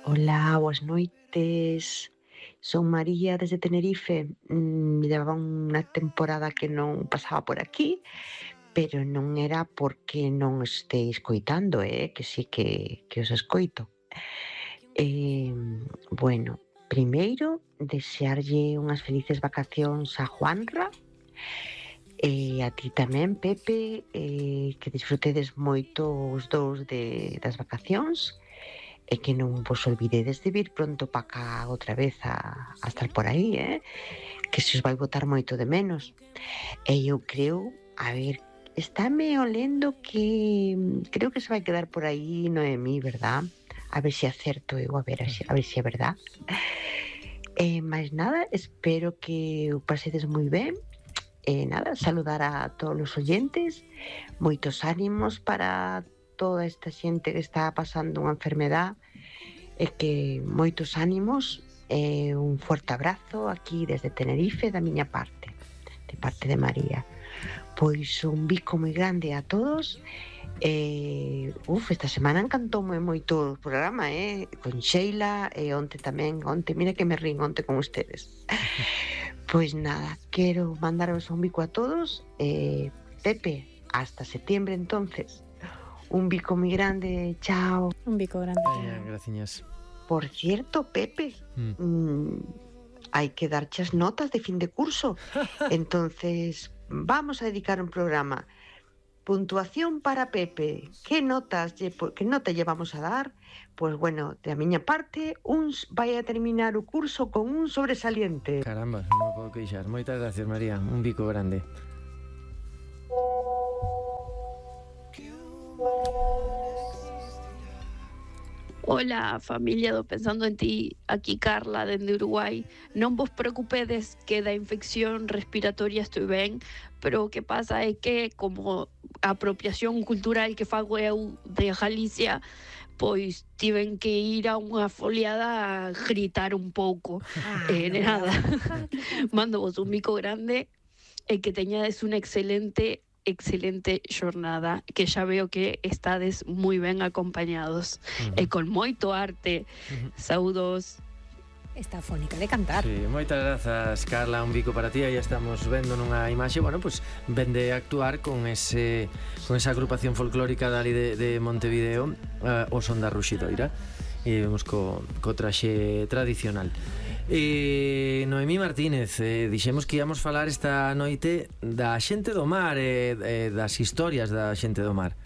Hola, boas noites. Son María desde Tenerife. Levaba unha temporada que non pasaba por aquí, pero non era porque non este escoitando, que sí que os escoito. Bueno, primeiro, desearlle unhas felices vacacións a Juanra e a ti tamén, Pepe, que disfrutedes moito os dous das vacacións e que non vos olvidedes de vir pronto pa cá outra vez a estar por aí, que se os vai botar moito de menos. E eu creo, a ver, estáme olendo que creo que se vai quedar por aí Noemí, verdad? A ver se acerto eu, a ver se é verdad. Mais nada, espero que o pasedes moi ben. Nada, saludar a todos os oyentes, moitos ánimos para toda esta xente que está pasando unha enfermedad e que moitos ánimos e un forte abrazo aquí desde Tenerife da miña parte, de parte de María. Pois un bico moi grande a todos. Esta semana encantoume moito o programa, con Sheila e onte tamén, mira que me rín onte con ustedes. Pois nada, quero mandaros un bico a todos. Pepe, hasta septiembre entonces. Un bico moi grande, chao. Un bico grande. Graciñas. Por cierto, Pepe, hai que darche as notas de fin de curso. Entonces, vamos a dedicar un programa. Puntuación para Pepe. Que nota lle vamos a dar? Pois bueno, da miña parte, vai a terminar o curso con un sobresaliente. Caramba, non me podo queixar. Moitas gracias, María. Un bico grande. Hola, familia do Pensando en Ti, aquí Carla dende Uruguai. Non vos preocupedes que da infección respiratoria estou ben, pero o que pasa é que como a apropiación cultural que fago eu de Galicia, pois tiven que ir a unha foliada a gritar un pouco. Nada, mando vos un bico grande e que teñades unha excelente xornada, que xa veo que estades moi ben acompañados e con moito arte. Saúdos. Está fónica de cantar. Sí, moitas grazas, Carla, un bico para ti. Aí estamos vendo nunha imaxe, bueno, pues vende a actuar con esa agrupación folclórica dali de Montevideo, o Son da Ruxidoira, e vemos co traxe tradicional. Noemí Martínez, dixemos que íamos falar esta noite da xente do mar, das historias da xente do mar.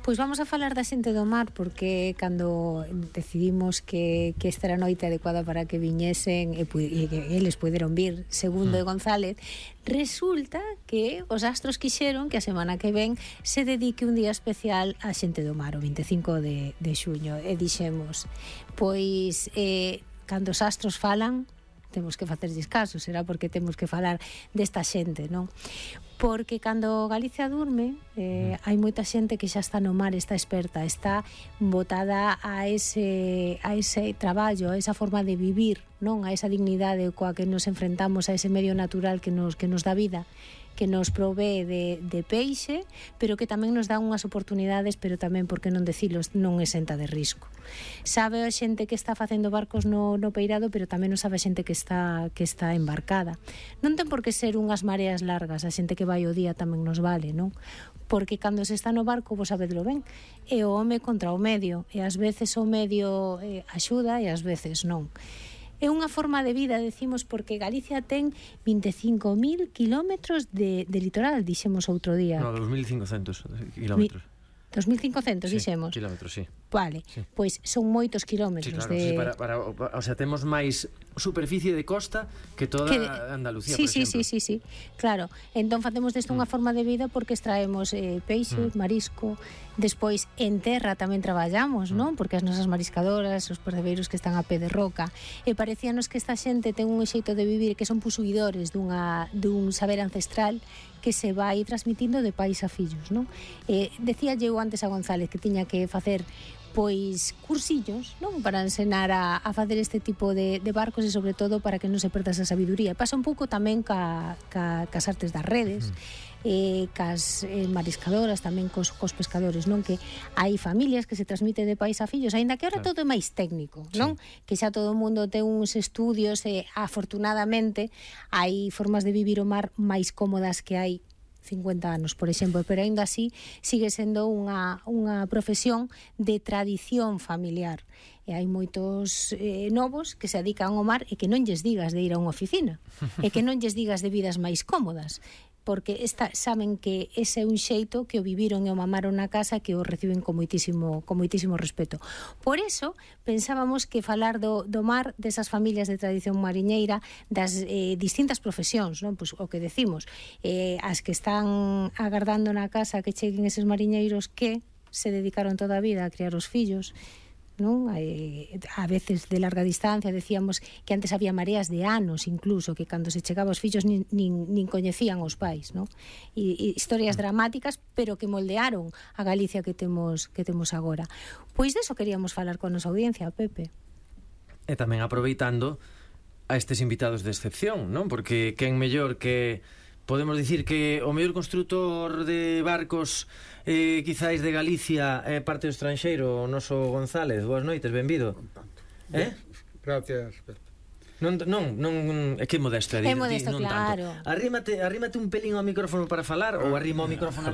Pois vamos a falar da xente do mar, porque cando decidimos que esta era a noite adecuada para que viñesen e que eles puderon vir, segundo de González, resulta que os astros quixeron que a semana que ven se dedique un día especial á xente do mar, o 25 de xuño, e dixemos, pois cando os astros falan temos que facerlles caso, será porque temos que falar desta xente, non? Porque cando Galicia durme, hai moita xente que xa está no mar, está experta, está botada a ese traballo, a esa forma de vivir, non? A esa dignidade coa que nos enfrentamos, a ese medio natural que nos dá vida, que nos provee de peixe, pero que tamén nos dá unhas oportunidades, pero tamén, por que non decilos, non exenta de risco. Sabe a xente que está facendo barcos no peirado, pero tamén non sabe a xente que está embarcada. Non ten por que ser unhas mareas largas, a xente que vai o día tamén nos vale, non? Porque cando se está no barco, vos sabedlo ben, é o home contra o medio, e ás veces o medio axuda e ás veces non. É unha forma de vida, decimos, porque Galicia ten 25.000 kilómetros de litoral, dixemos outro día. No, 2.500 kilómetros. 2.500, sí, dixemos. Kilómetros, sí. Vale, sí. Pois son moitos kilómetros. Sí, claro, sí, o sea, temos máis superficie de costa que toda Andalucía, sí, por exemplo. Sí, claro. Entón facemos desto unha forma de vida porque extraemos peixe, marisco, despois en terra tamén traballamos, non? Porque as nosas mariscadoras, os percebeiros que están a pé de roca, e parecíanos que esta xente ten un xeito de vivir que son posuidores dun saber ancestral que se vai transmitindo de pais a fillos, non? Decía eu antes a González que tiña que facer pois cursillos, non? Para ensenar a facer este tipo de barcos e sobre todo para que non se perda esa sabiduría. Pasa un pouco tamén cas artes das redes. cas mariscadoras, tamén cos pescadores, non? Que hai familias que se transmite de pais a fillos, aínda que ahora todo é máis técnico, non? Que xa todo o mundo ten uns estudios e afortunadamente hai formas de vivir o mar máis cómodas que hai 50 anos, por exemplo, pero aínda así sigue sendo unha profesión de tradición familiar. E hai moitos novos que se dedican ao mar e que non lles digas de ir a unha oficina e que non lles digas de vidas máis cómodas, porque saben que ese é un xeito que o viviron e o mamaron na casa, que o reciben con moitísimo respeto. Por eso, pensábamos que falar do mar, desas familias de tradición mariñeira, das distintas profesións, non? Pois o que decimos, as que están agardando na casa que cheguen eses mariñeiros que se dedicaron toda a vida a criar os fillos, non? A veces de larga distancia, decíamos que antes había mareas de anos incluso, que cando se chegaba os fillos nin coñecían os pais, non? E historias dramáticas, pero que moldearon a Galicia que temos agora. Pois deso queríamos falar con a nosa audiencia, Pepe. E tamén aproveitando a estes invitados de excepción, non? Porque quen mellor que podemos dicir que o mellor construtor de barcos quizáis de Galicia é parte do estranxeiro, o noso González. Boas noites, benvido. Gracias. Non, é que modesto é modesto, claro. Arrímate un pelín ao micrófono para falar ou arrima o micrófono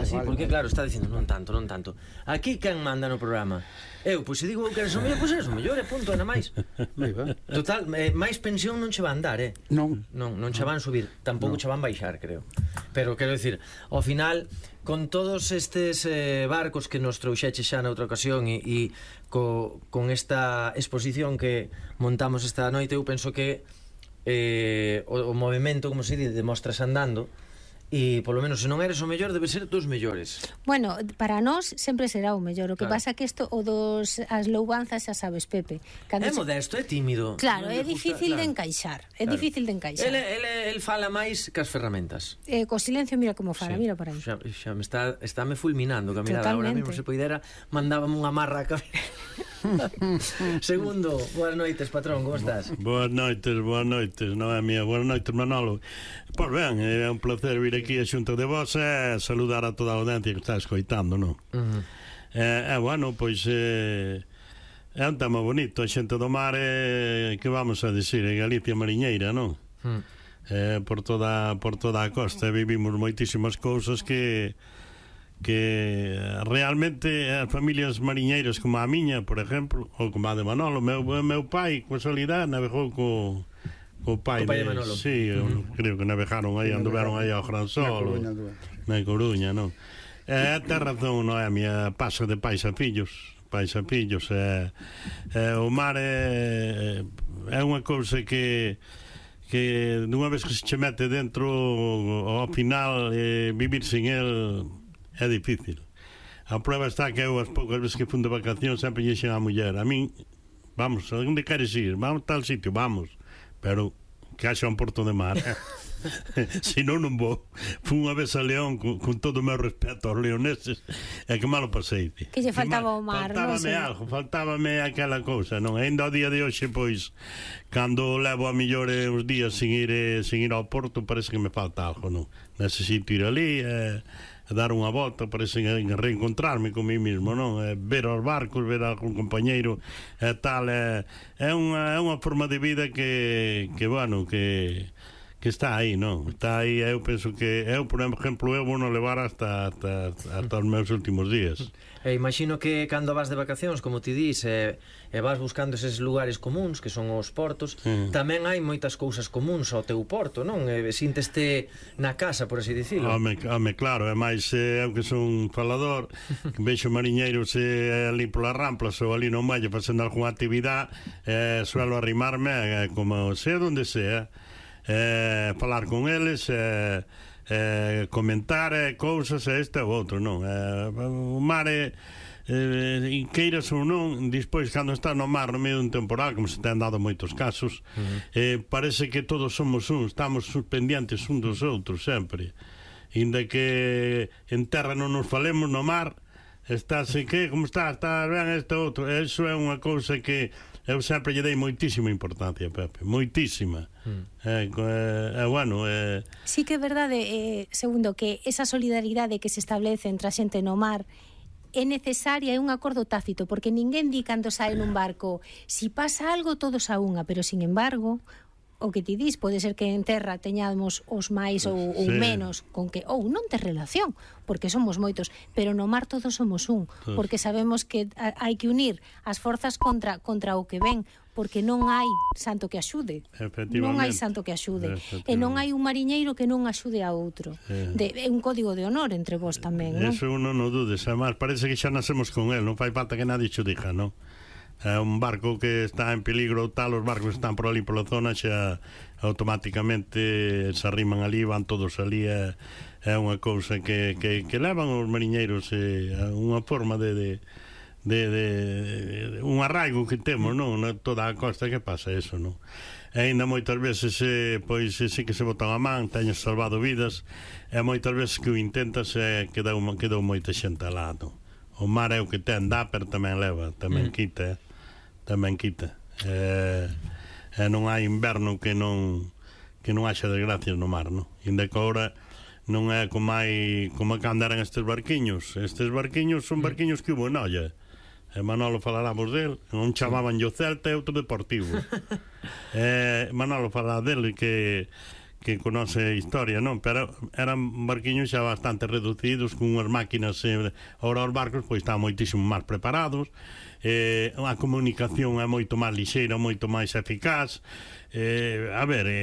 así, porque claro, está dicindo non tanto. Aquí quen manda no programa? Eu, pois se digo que eres o mellor, pois eres o mellor, punto, nada máis. Total, máis pensión non che van dar, Non che van subir, tampouco che van baixar, creo. Pero quero dicir, ao final, con todos estes barcos que nos trouxeche xa na outra ocasión e con esta exposición que montamos esta noite, eu penso que o movimento, como se di, de mostras andando, e polo menos se non eres o mellor, debe ser dos mellores. Bueno, para nós sempre será o mellor. O que pasa que isto, as loubanzas, xa sabes, Pepe, é modesto, é tímido. Claro, é difícil de encaixar. É difícil de encaixar. El fala máis que as ferramentas. Co silencio, mira como fala, mira para aí. Xa me está me fulminando que a mirada. Agora mesmo se poidera mandábame unha marra a cabeza. Segundo, boas noites, patrón, como estás? Boas noites, Noemia. Boas noites, Manolo. Pois ben, é un placer vir aquí a xunto de vos e saludar a toda a audiencia que está escoitando, non? Bueno, pois é un tema bonito, a xente do mar, que vamos a decir, é Galicia mariñeira, non? Por toda a costa vivimos moitísimas cousas que realmente as familias mariñeiras como a miña, por exemplo, ou como a de Manolo, meu pai, con solidade, navegou o pai de Manolo. Sí, creo que navegaron aí, anduveron aí ao Gran Sol, na Coruña, non? Ten razón, Noemia, paso de pais a fillos. O mar é unha cousa que dunha vez que se che mete dentro, ao final vivir sin el é difícil. A prueba está que eu as poucas veces que fun de vacacións sempre lle dixen á muller, a min, vamos, a onde queres ir? Vamos a tal sitio, vamos, pero que haxa un porto de mar. Se non vou. Fui unha vez a León con todo o meu respeto aos leoneses, e que malo pasei. Que lle faltaba o mar, non sei. Faltábame aquela cousa, non? Ainda ao día de hoxe, pois, cando levo a millor uns días sin ir ao porto, parece que me falta algo, non? Necesito ir ali dar unha volta, parece reencontrarme con mí mismo, non? Ver os barcos, ver algún compañeiro e tal, é unha forma de vida que bueno, que está aí, non? Está aí, eu penso que eu, por exemplo, eu vou non levar hasta os meus últimos días. Imagino que cando vas de vacacións, como ti dis, e vas buscando eses lugares comuns que son os portos, tamén hai moitas cousas comuns ao teu porto, non? Sínteste na casa, por así dicilo. Home, claro, é máis eu que son falador, que vexo mariñeiros ali polas ramplas ou ali no Malle facendo algunha actividade, suelo arrimarme, como sea onde sea, falar con eles, comentar cousas este ou outro, non? O mar queiras ou non, despois cando está no mar no medio dun temporal, como se ten dado moitos casos, parece que todos somos estamos pendientes un dos outros sempre, inda que en terra non nos falemos, no mar estás, que, como está ben este outro, eso é unha cousa que eu sempre lle dei moitísima importancia, Pepe, moitísima. Bueno, sí que é verdade, segundo, que esa solidaridade que se establece entre a xente no mar é necesaria, é un acordo tácito, porque ninguén di cando sae nun barco, si pasa algo todos a unha, pero sin embargo, o que ti dis, pode ser que en terra teñamos os máis ou menos, con que ou non tes relación, porque somos moitos, pero no mar todos somos un, porque sabemos que hai que unir as forzas contra o que ven, porque non hai santo que axude. Non hai santo que axude. E non hai un mariñeiro que non axude a outro. É un código de honor entre vos tamén, non? Eso non o dudes, además, parece que xa nacemos con el, non fai falta que nadie xo diga, non? É un barco que está en peligro tal, os barcos están por ali pola zona, xa automáticamente se arriman ali, van todos ali, é unha cousa que levan os mariñeiros, unha forma de un arraigo que temos, non? Toda a costa que pasa eso, non? E ainda moitas veces pois sí que se botan a man, teñes salvado vidas, e moitas veces que o intentas quedou moita xente alá, non? O mar é o que ten, dá, pero tamén leva, tamén quita, tamén quita. Non hai inverno que non haxa desgracias no mar, non? Inda que agora non é como cando eran estes barquiños. Estes barquiños son barquiños que hubo en olla. Manolo faláramos del, un chamaban yo Celta e outro Deportivo. Manolo falará del que conoce a historia, non? Pero eran barquiños xa bastante reducidos, con unhas máquinas, ahora os barcos pois están moitísimo máis preparados, a comunicación é moito máis lixeira, moito máis eficaz.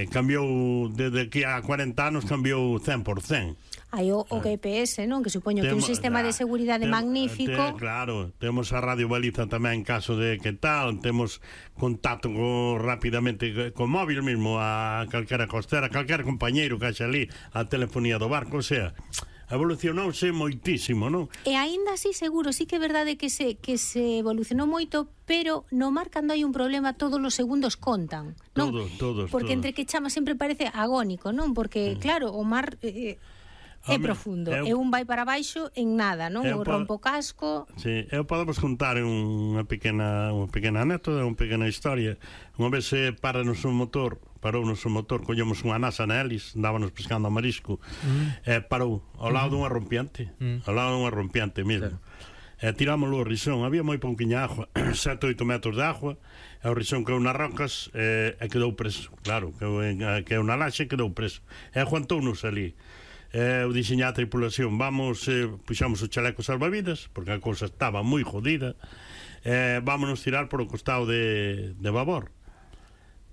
Cambiou desde que há 40 anos, cambiou 100%. Hai o GPS, non? Que supoño que é un sistema de seguridade magnífico. Claro, temos a radio baliza tamén en caso de que tal, temos contacto rapidamente con móvil mesmo a calquera costera, calquera compañeiro que haxa ali, a telefonía do barco, o sea, evolucionouse moitísimo, non? E aínda así seguro, sí que é verdade que se evolucionou moito, pero no mar cando hai un problema todos os segundos contan, non? Todos. Porque entre que chama sempre parece agónico, non? Porque claro, o mar é profundo, e un vai para baixo en nada, non? O rompo casco. Sí, eu podemos contar unha pequena anécdota, unha pequena historia. Unha vez parounos o motor, collemos unha nasa na hélice, andábamos pescando a marisco, parou ao lado dunha rompiente, mesmo. Tirámoslo ao risón, había moi pouquiña agua, 7-8 metros de agua, e o risón caeu nas rocas e quedou preso, claro, caeu na laxe e quedou preso. E aguantounos ali. Eu dixen á tripulación, puxamos o chaleco salvavidas, porque a cousa estaba moi jodida, vámonos tirar por o costado de babor.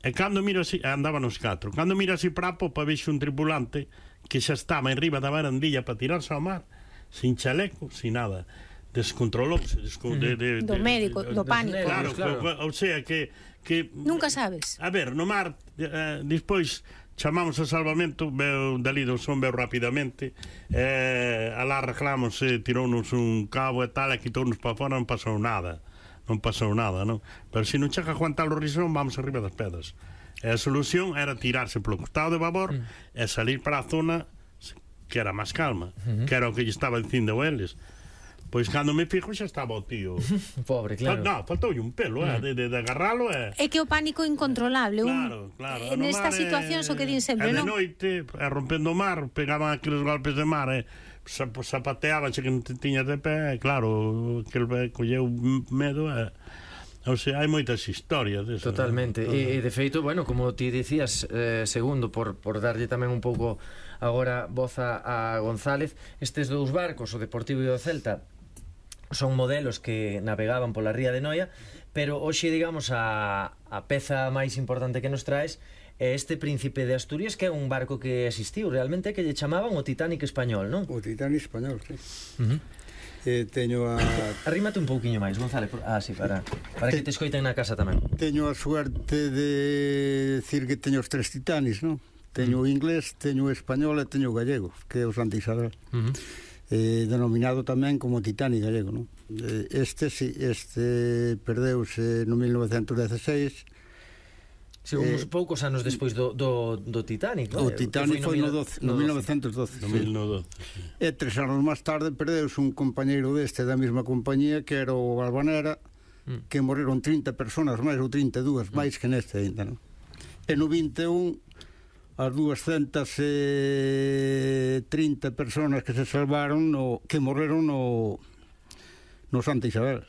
E cando miro así, andábamos 4, cando miro así para a popa, vexo un tripulante que xa estaba en riba da barandilla para tirarse ao mar, sin chaleco, sin nada. Descontrolouse do médico, do pánico. Claro. O sea que nunca sabes. A ver, no mar despois chamamos a salvamento, veu dali do son, veu rapidamente, alá arreglamos, tirounos un cabo e tal, e quitounos para fora, non pasou nada, non? Pero se non chega a aguantar o risón, vamos arriba das pedras. E a solución era tirarse polo costado de babor e salir para a zona que era máis calma, que era o que lle estaba dicindo a eles. Pois cando me fijo xa estaba o tío. Pobre, claro. Non, faltoulle un pelo, de agarralo. É que o pánico incontrolable. Claro. Nesta situación o que din sempre, non? De noite, rompendo o mar, pegaban aqueles golpes de mar, zapateaban que non te tiñas de pé, claro, aquel colleu medo, o sea, hai moitas historias deso. Totalmente, e de feito, bueno, como ti dicías, segundo, por darlle tamén un pouco agora voz a González, estes dous barcos, o Deportivo e o Celta, son modelos que navegaban pola ría de Noia, pero hoxe, digamos, a peza máis importante que nos traes é este Príncipe de Asturias, que é un barco que existiu realmente, que lle chamaban o Titanic español, non? O Titanic español, sí. Teño a... Arrímate un pouquiño máis, González, sí, para que te escoiten na casa tamén. Teño a suerte de decir que teño os 3 Titanics, non? Teño o inglés, teño o español e teño o gallego, que é o Santa Isabel. Denominado tamén como Titanic gallego, non? Este perdeuse no 1916. Sí, uns poucos anos despois do Titanic, non? O Titanic foi no 1912. E 3 anos máis tarde perdeuse un compañeiro deste da mesma compañía, que era o Albanera, que morreron 30 personas máis ou 32 máis que neste ainda, non? E no 21 as 230 personas que se salvaron que morreron no Santa Isabel,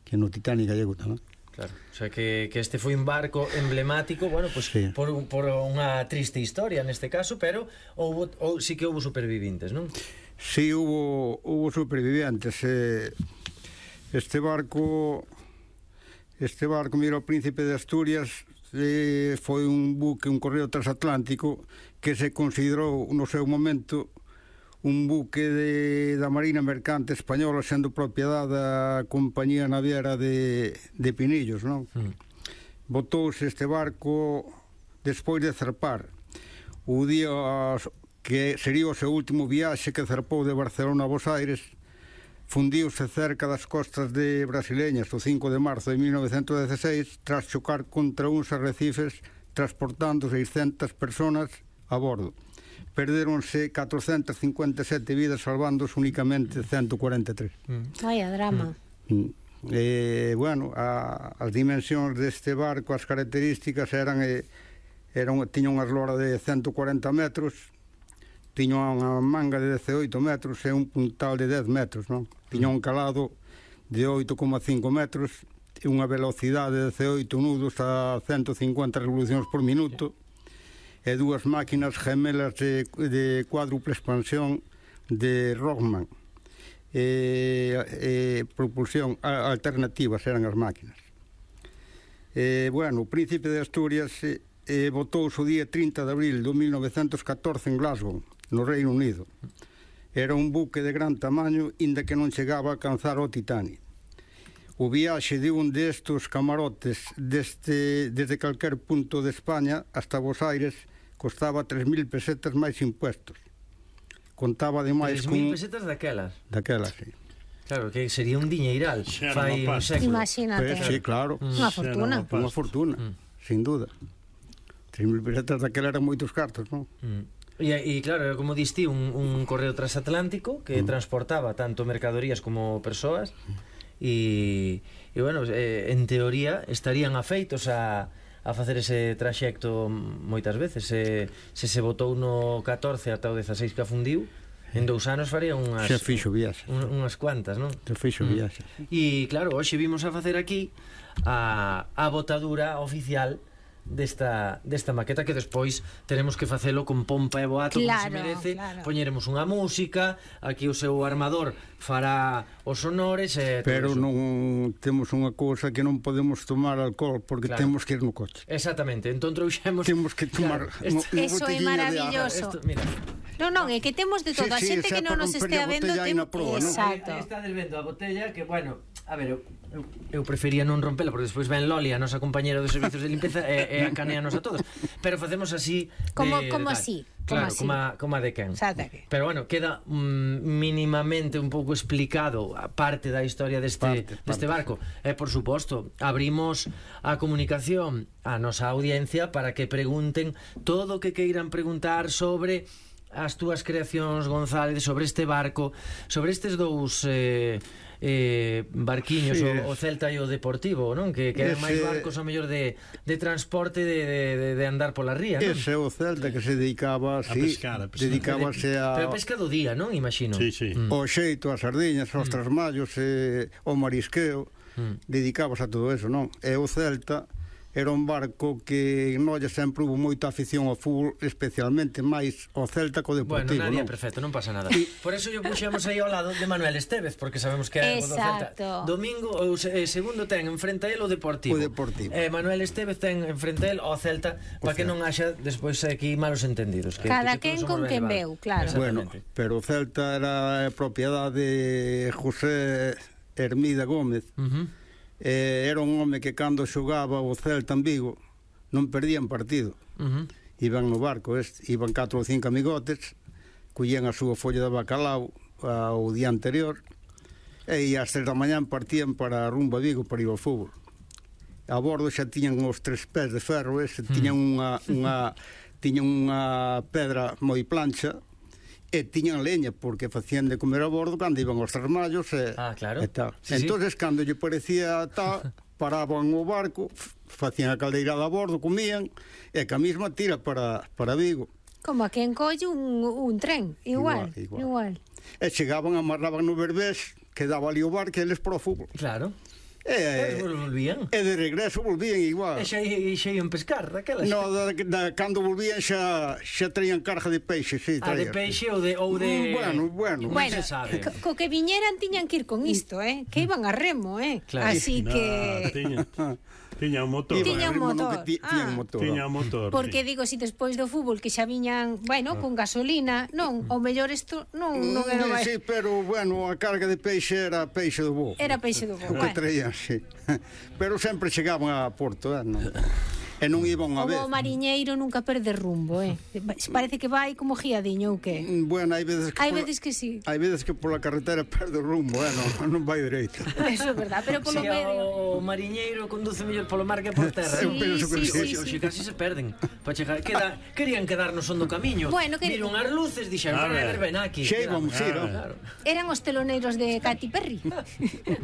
que no Titanic gallego tamén. Claro, o sea que este foi un barco emblemático, bueno, pues sí, por unha triste historia neste caso, pero sí que houve supervivintes, non? Sí, hubo supervivientes. Este barco, mira, o Príncipe de Asturias, foi un buque, un correo transatlántico que se considerou no seu momento un buque da Marina Mercante Española, sendo propiedade da compañía naviera de Pinillos, non? Botouse este barco despois de zarpar o día que sería o seu último viaxe, que zarpou de Barcelona a Bos Aires. Fundiuse cerca das costas de brasileñas o 5 de marzo de 1916 tras chocar contra uns arrecifes transportando 600 personas a bordo. Perdéronse 457 vidas, salvándose únicamente 143. Vaya drama. Bueno, as dimensións deste barco, as características tiña unha eslora de 140 metros, tiña unha manga de 18 metros e un puntal de 10 metros, non? Tiña un calado de 8,5 metros e unha velocidade de 18 nudos a 150 revolucións por minuto e dúas máquinas gemelas de cuádruple expansión de Rockman, propulsión alternativas eran as máquinas. Bueno, o Príncipe de Asturias botouse o día 30 de abril de 1914 en Glasgow, no Reino Unido. Era un buque de gran tamaño, inda que non chegaba a alcanzar o Titanic. O viaxe de un destos camarotes desde calquer punto de España hasta Bos Aires costaba 3.000 pesetas máis impuestos. Contaba ademais 3.000 pesetas daquelas? Daquelas, sí. Claro, que sería un diñeiral. Fai un século. Imagínate. Sí, claro. Unha fortuna. Unha fortuna, sin duda. 3.000 pesetas daquela eran moitos cartos, non? E claro, como diste, un correo transatlántico que transportaba tanto mercadorías como persoas e bueno, en teoría estarían afeitos a facer ese traxecto moitas veces. Se botou no 14 ata o 16 que afundiu, en 2 anos faría unhas... Xa fixo viaxe. Unhas cuantas, non? Xa fixo viaxe. E claro, hoxe vimos a facer aquí a botadura oficial desta maqueta, que despois teremos que facelo con pompa e boato, como se merece. Poñeremos unha música, aquí o seu armador fará os sonores pero non temos unha cousa, que non podemos tomar alcohol porque temos que ir no coche. Exactamente, entón trouxemos, temos que tomar eso é maravilloso. Mira, non, é que temos de todo. A xente que non nos estea vendo, exacto. Estades vendo a botella, que bueno, a ver, eu prefería non rompela, porque despois ven Loli, a nosa compañera dos servicios de limpeza, e acaneanos a todos, pero facemos así como así, claro, como a de quen. Pero bueno, queda mínimamente un pouco explicado a parte da historia deste barco. E por suposto, abrimos a comunicación á nosa audiencia para que pregunten todo o que queiran preguntar sobre as túas creacións, González, sobre este barco, sobre estes dous barquiños, o Celta e o Deportivo, non? Que eran máis barcos a mellor de transporte, de andar pola ría, non? Ese é o Celta que se dedicaba a pescar. Dedicábase pero pesca do día, non? Imagino. O xeito, as sardiñas, os trasmallos, o marisqueo, dedicábase a todo eso, non? E o Celta era un barco que en Noia sempre hubo moita afición ao fútbol, especialmente máis ao Celta co Deportivo. Bueno, nadie é perfecto, non pasa nada. Por eso yo puxemos aí ao lado de Manuel Estévez, porque sabemos que é o do Celta. Domingo, segundo ten enfrente a él o Deportivo. Manuel Estévez ten enfrente a él o Celta, para que non haxa despois aquí malos entendidos. Cada quen con quen veu, claro. Bueno, pero o Celta era propiedade de José Hermida Gómez. Era un home que cando xogaba o Celta en Vigo non perdían partido. Iban no barco, iban 4 ou 5 amigotes, collían a súa folla de bacalao o día anterior e ás 3 da mañán partían para rumbo a Vigo para ir ao fútbol. A bordo xa tiñan os 3 pés de ferro, tiñan unha pedra moi plancha e tiñan leña, porque facían de comer a bordo cando iban aos termallos claro. e tal. Sí, Entonces, cando lle parecía tal, paraban o barco, facían a caldeirada a bordo, comían, e que a mesma tira para Vigo. Como a quen colle un tren, igual. E chegaban, amarraban no Berbés, quedaba ali o barco e eles para o fútbol. Claro. E volvían. E de regreso volvían igual. E xa iam pescar daquelas. No, cando volvían xa traían carga de peixe, sí, de traían. peixe ou de Bueno, se sabe. Co que viñeran tiñan que ir con isto, que iban a remo, Claro. Así que Tiña un motor. Tiña un motor. Tiña un motor. Porque digo, si despois do fútbol que xa viñan, con gasolina, non, ao mellor isto non era máis. Sí, pero bueno, a carga de peixe era peixe do bo. Era peixe do bo. O que traían, sí. Pero sempre chegaban a Porto, non? E non iban a ver. O mariñeiro nunca perde rumbo, Parece que vai como guiadiño ou que? Bueno, hai veces que sí. Hai veces que pola carretera perde o rumbo, non vai dereito. Eso é verdad, pero polo medio o mariñeiro conduce mellor polo mar que por terra. Sí. Oxe, casi se perden. Para chegar, querían quedar no son do camiño. Viron as luces, dixeron, ven aquí. Xa íbamos ir, Eran os teloneiros de Katy Perry.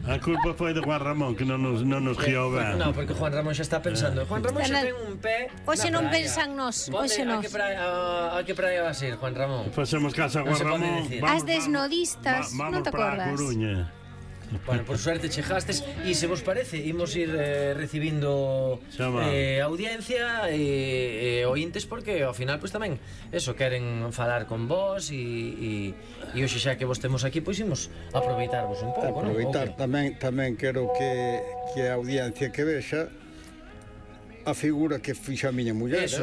A culpa foi de Juan Ramón, que non nos guiou ben. Non, porque Juan Ramón xa está pensando. Juan Ramón xa ten un pé. Hoxe non pensan nós, hoxe nós. A que praia vas ir, Juan Ramón? Facemos casa a Juan Ramón. As desnodistas, non te acordas? Vamos para a Coruña. Bueno, por suerte chegastes e se vos parece, imos ir recibindo audiencia e ointes, porque ao final pois tamén eso, queren falar con vos e hoxe xa que vos temos aquí, pois imos aproveitarvos un pouco, aproveitar, tamén quero que a audiencia que vexa a figura que fixa a miña muller. Eso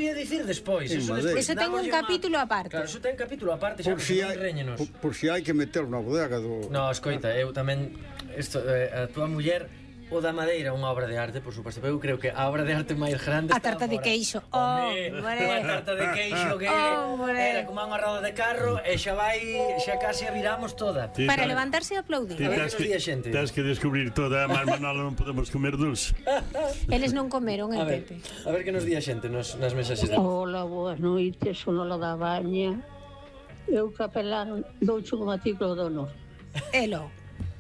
ia dicir despois. Eso ten un capítulo aparte. Claro, eso ten capítulo aparte, xa reñenos. Por si hai que meter na bodega do... No, escoita, eu tamén a tua muller o da madeira, unha obra de arte, por suposto, pero eu creo que a obra de arte máis grande a tarta de queixo. Unha tarta de queixo que era como unha roda de carro e xa casi a viramos toda. Para levantarse e aplaudir. A ver que nos di a xente. Tens que descubrir toda, mas Manolo non podemos comer dulce. Eles non comeron, Pepe. A ver que nos di a xente nas mensaxes de... Hola, boas noites, son Lola da Baña. Eu capelán douche un artículo de honor. Elo.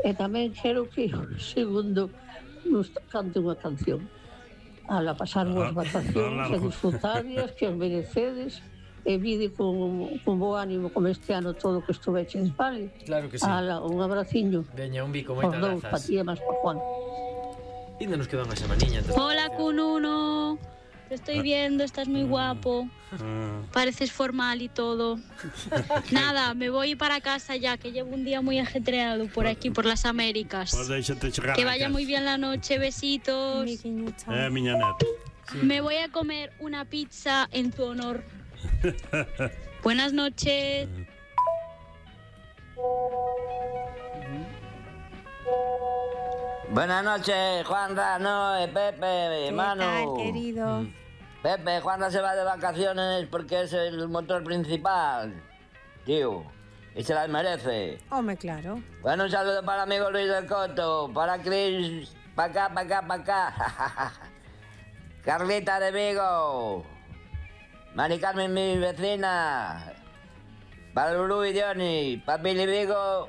E tamén quero que o segundo nos cante unha canción. Ala pasar boas vacacións e disfrutarlas, que as merecedes, e vide con bo ánimo como este ano todo que estuveches, vale? Claro que sí. Ala, un abraciño. Veña, un bico, moitas grazas. Para ti e máis para Juan. Ainda nos queda unha semaniña. Hola, Cununo. Te estoy viendo, estás muy guapo. Pareces formal y todo. Nada, me voy para casa ya, que llevo un día muy ajetreado por aquí, por las Américas. Que vaya muy bien la noche, besitos. Miña neta. Me voy a comer una pizza en tu honor. Buenas noches. Buenas noches, Juanra, Noé, Pepe, Manu. ¿Qué tal, querido? Pepe, Juanra se va de vacaciones porque es el motor principal, tío, y se las merece. Hombre, claro. Bueno, un saludo para mi amigo Luis del Coto, para Cris, para acá. Carlita de Vigo, Mari Carmen, mi vecina, para Lulú y Johnny, para Billy Vigo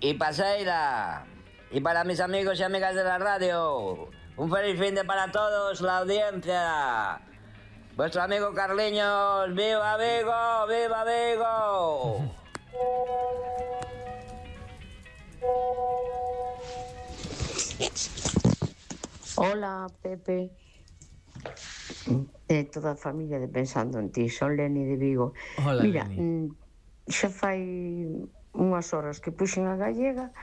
y para Seila. Y para mis amigos y amigas de la radio, un feliz fin de para todos, la audiencia. Vuestro amigo Carliños, ¡viva Vigo! ¡Viva Vigo! Hola, Pepe. Toda a familia de Pensando en Ti, son Leni de Vigo. Hola, mira, Leni. Xa fai unhas horas que puxen a gallega,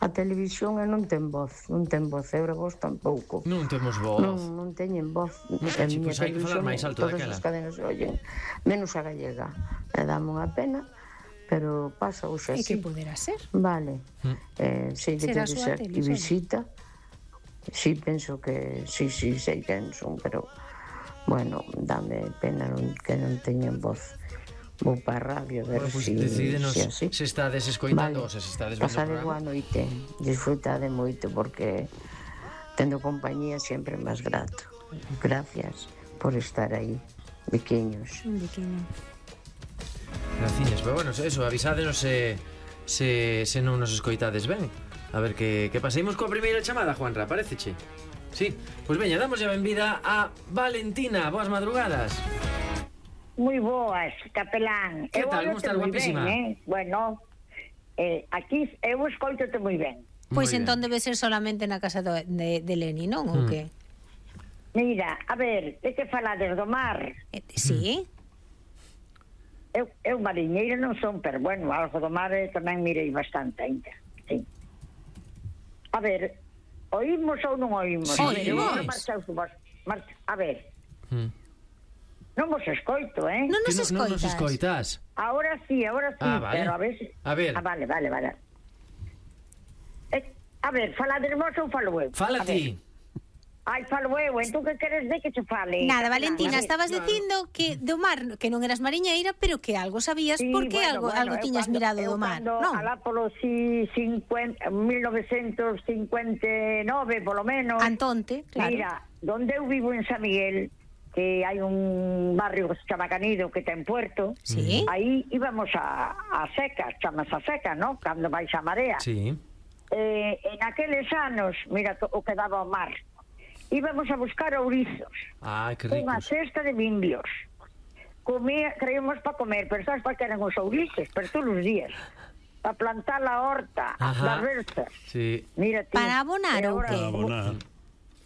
a televisión non ten voz, eura vos tampouco. Non temos voz. Non teñen voz. A miña Pois hai que falar máis alto todas daquela. as cadenas se oyen, menos a gallega. E dame unha pena, pero pasa hoxe E así. que poderá ser? Vale. Sei que Será debe súa ser tele, que visita. Sí, penso que sí, sei quen son, pero bueno, dame pena que non teñen voz. Vou para a radio a ver Bueno, pues si decídenos así. se estades escoitando ou se estades vendo o Pasade boa programa. noite, disfrutade moito porque tendo compañía sempre é máis grato. Gracias por estar aí, pequeños. Un biquiño. Graciñas, pero bueno, eso, avisádenos se non nos escoitades ben. A ver que paseimos coa primeira chamada, Juanra, pareceche? Sí, pois veña, damos a benvida a Valentina. Boas madrugadas. Moi boas, capelán. Que tal, como estás, guapísima? Bueno, aquí eu escoitote moi ben. Pois entón debe ser solamente na casa de Leni, non? Ou que? Mira, a ver, de que falades do mar? Sí. Eu mariñeira non son, pero bueno, algo do mar tamén mirei bastante ainda. Sí. A ver, oímos ou non oímos? Sí, a ver. Non vos escoito, Non nos escoitas. Non nos escoitas. Ahora sí, vale. pero a ver... vale. A ver, falades vos ou falo eu? Fala ti. Ai, falo eu, entón que queres de que che fale? Nada, Valentina, estabas dicindo que do mar, que non eras mariñeira, pero que algo sabías, sí, porque algo tiñas mirado do mar, non? Alá polo 1959, polo menos. Antonte, claro. Mira, donde eu vivo en San Miguel, que hai un barrio que se chama Canido, que ten puerto, sí. Aí íbamos a secas, chamas a seca, non? Cando vais a marea. Sí. En aqueles anos, mira o que daba o mar, íbamos a buscar ourizos. Que ricos. Unha cesta de bimbios. Traíamos para comer, pero sabes para que eran os ourices? Pero todos os días. Para plantar a horta, das versas. Sí. Mira, tío, para abonar ou que?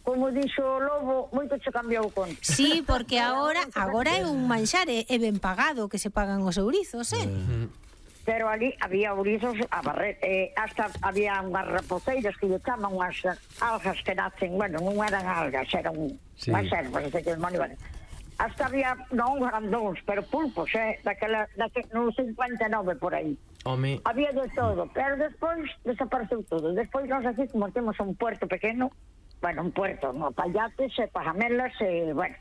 Como dixo o lobo, moito se cambiou con. Sí, porque agora é un manxar, é ben pagado que se pagan os ourizos, Pero ali había ourizos a barrer, hasta había unhas rapoceiras que lle chaman unhas algas que nacen, bueno, non eran algas, eran unhas ervas, hasta había non grandóns, pero pulpos, no 59 por aí. Home. Había de todo, pero despois desapareceu todo. Despois nós aquí, como temos un puerto pequeno, bueno, un puerto, no, Payates, Pajamelas, bueno,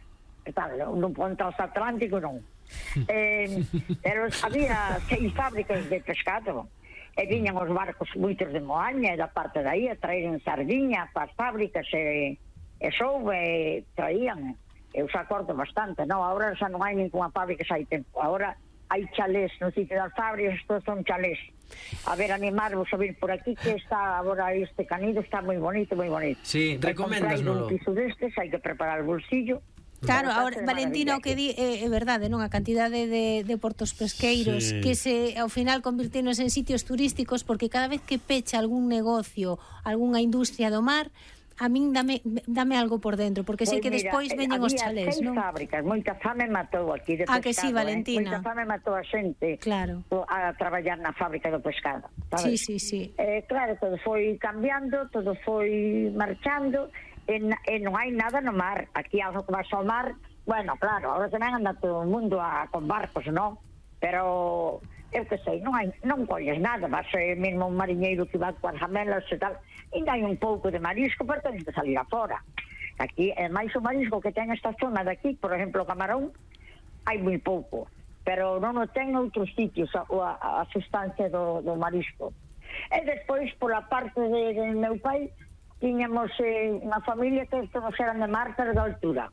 tal, un ponto Atlántico non. Pero había 6 fábricas de pescado e viñan os barcos moitos de Moaña e da parte de aí a traían sardiña para as fábricas e souve traían, eu se acordo bastante, non? Agora xa non hai ninguna fábrica xa hai tempo, agora hai chalés no sitio das fábricas, estos son chalés. A ver, animarvos a vir por aquí, que está agora este Canido, está moi bonito, moi bonito. Sí, recoméndasnolo. Un piso destes, hai que preparar o bolsillo. Claro, ahora, Valentina, o que di é verdade, non? A cantidade de portos pesqueiros que ao final convirtenos en sitios turísticos, porque cada vez que pecha algún negocio, algunha industria do mar, a min dame algo por dentro, porque sei que despois veñen os chalés, non? Había 6 fábricas, moita fame matou aquí de pescado. Que sí, Valentina? Moita fame matou a xente a traballar na fábrica do pescado, sabes? Sí. Claro, todo foi cambiando, todo foi marchando, e non hai nada no mar. Aquí algo que vas ao mar, bueno, claro, agora tamén anda todo o mundo con barcos, non? Pero eu que sei, non colles nada, vas mesmo un mariñeiro que va coas jamelas e tal, ainda hai un pouco de marisco, pero tens que salir afora. Aquí, máis o marisco que ten esta zona de aquí, por exemplo, o camarón, hai moi pouco, pero non o ten outros sitios a sustancia do marisco. E despois, pola parte de meu pai, tiñamos unha familia que todos eran de mar, pero de altura.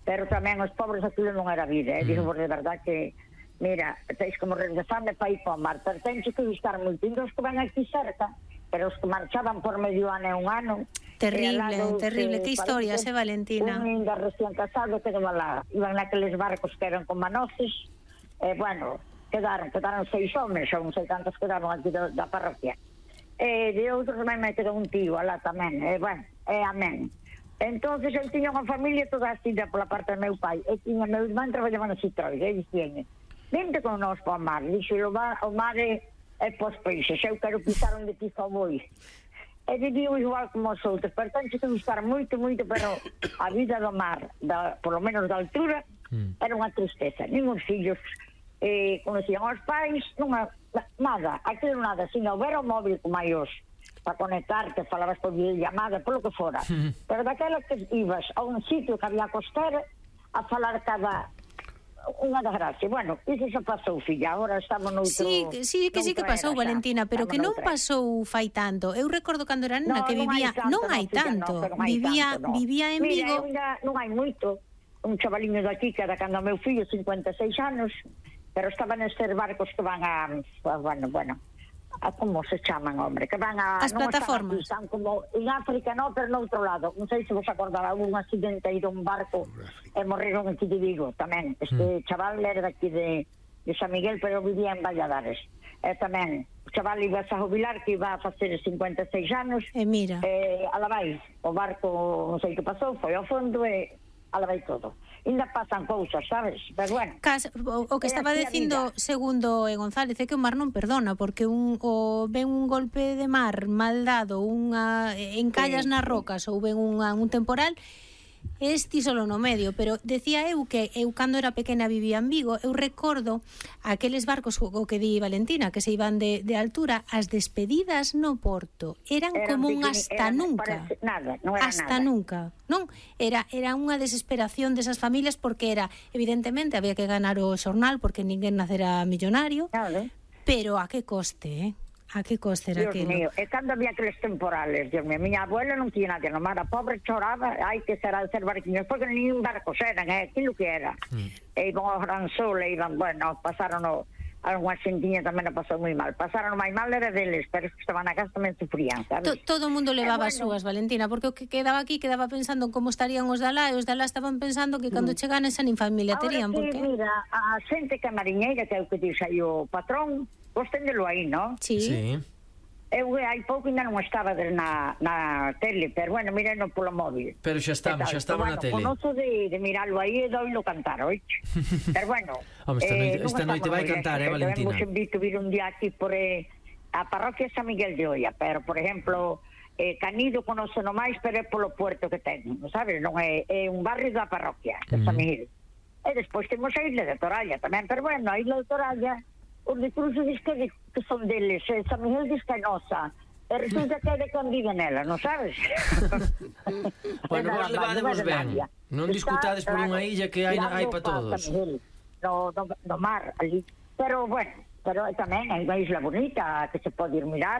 Pero tamén os pobres aquilo non era vida, digo por de verdad que, mira, teis que morrer de fame para ir para o mar, pero tens que gustar moito. Os que van aquí cerca, pero os que marchaban por medio ano e un ano... Terrible, que historias, Valentina? Un ainda recién casado que iban naqueles barcos que eran con manoces, bueno, quedaron 6 homes, ou non sei cantos quedaron aquí da parroquia. De outros tamén me quedou un tío alá tamén, bueno, amén. Entonces eu tiña unha familia toda así pola parte do meu pai, e tiña meu irmán traballaba no Citroën, e dixen, vente con nós para o mar, dixo, o mar é pos peixes, eu quero pisar onde pisa o boi. E viviu igual como os outros, pero tenho que gustar moito, pero a vida do mar, por lo menos da altura, era unha tristeza. Nin os fillos conocían aos pais, nada, aquilo nada, sin houbera o móvil como hai os para conectarte, falabas por videollamada, polo que fora. Pero daquela que ibas a un sitio que había costera a falar cada unha desgracia. Bueno, iso xa pasou, filla, agora estamos noutro... Sí que pasou, Valentina, pero que non pasou fai tanto. Eu recordo cando era nena que vivía... Non hai tanto. Vivía en Vigo... Mira, non hai moito. Un chavaliño daqui que era cando meu fillo, 56 anos, pero estaban estes barcos que van a como se chaman, hombre, que van a... As plataformas. Están como en África, no, pero no outro lado. Non sei se vos acordaba, un accidente aí dun barco e morreron aquí de Vigo tamén. Este chaval era daqui de San Miguel, pero vivía en Valladares. Tamén, o chaval iba a jubilar, que iba a facer 56 anos. E mira. Ala vai, o barco, non sei que pasou, foi ao fondo e ala vai todo. Ainda pasan cousas, sabes? Pero bueno. O que estaba dicindo, segundo González, é que o mar non perdona, porque ven un golpe de mar mal dado, encallas nas rocas ou ven un temporal, ti solo no medio, pero decía eu que eu cando era pequena vivía en Vigo, eu recordo aqueles barcos o que di Valentina, que se iban de altura, as despedidas no porto eran como un hasta nunca. Nada, non era hasta nada. Nunca, non? Era unha desesperación desas familias porque era, evidentemente, había que ganar o xornal porque ninguén nacera millonario, claro. Pero a que coste, A que coste era Dios aquilo? mío, e cando había aqueles temporales, Dios mío, miña abuela non tiña nadie no mar, a pobre choraba, hai que ser al ser barquiños, porque nin barcos eran, aquilo que era. E iban ao Gran Sol, e iban, bueno, pasaron algunha xentiña tamén a pasou moi mal. Pasaron máis mal era deles, pero os que estaban na casa tamén sufrían, sabes? Todo o mundo levaba as súas, Valentina, porque o que quedaba aquí quedaba pensando en como estarían os de alá, e os de alá estaban pensando que cando chegaran esa nin familia terían, porque... porque... mira, a xente que é mariñeira, que é o que dixe aí o patrón, vos téndelo aí, non? Sí. Eu hai pouco ainda non estaba na tele, pero bueno, mireno polo móvil. Pero xa estamos na tele. Bueno, conozo de miralo aí e doilo cantar, oiche? Pero bueno... esta noite vai cantar, Valentina? Vos invito a vir un día aquí por a parroquia San Miguel de Oia, pero, por exemplo, Canido conoce no máis, pero é polo puerto que ten, sabes? Non é un barrio da parroquia de San Miguel. E despois temos a Isla de Toralla tamén, pero bueno, a Isla de Toralla... Os de Cruzo diz que son deles, San Miguel diz que é nosa, e resulta que é de quen vive nela, non sabes? Bueno, vos levademos ben, non discutades por unha illa que hai para todos. No mar, ali, pero bueno, pero tamén hai unha isla bonita que se pode ir mirar.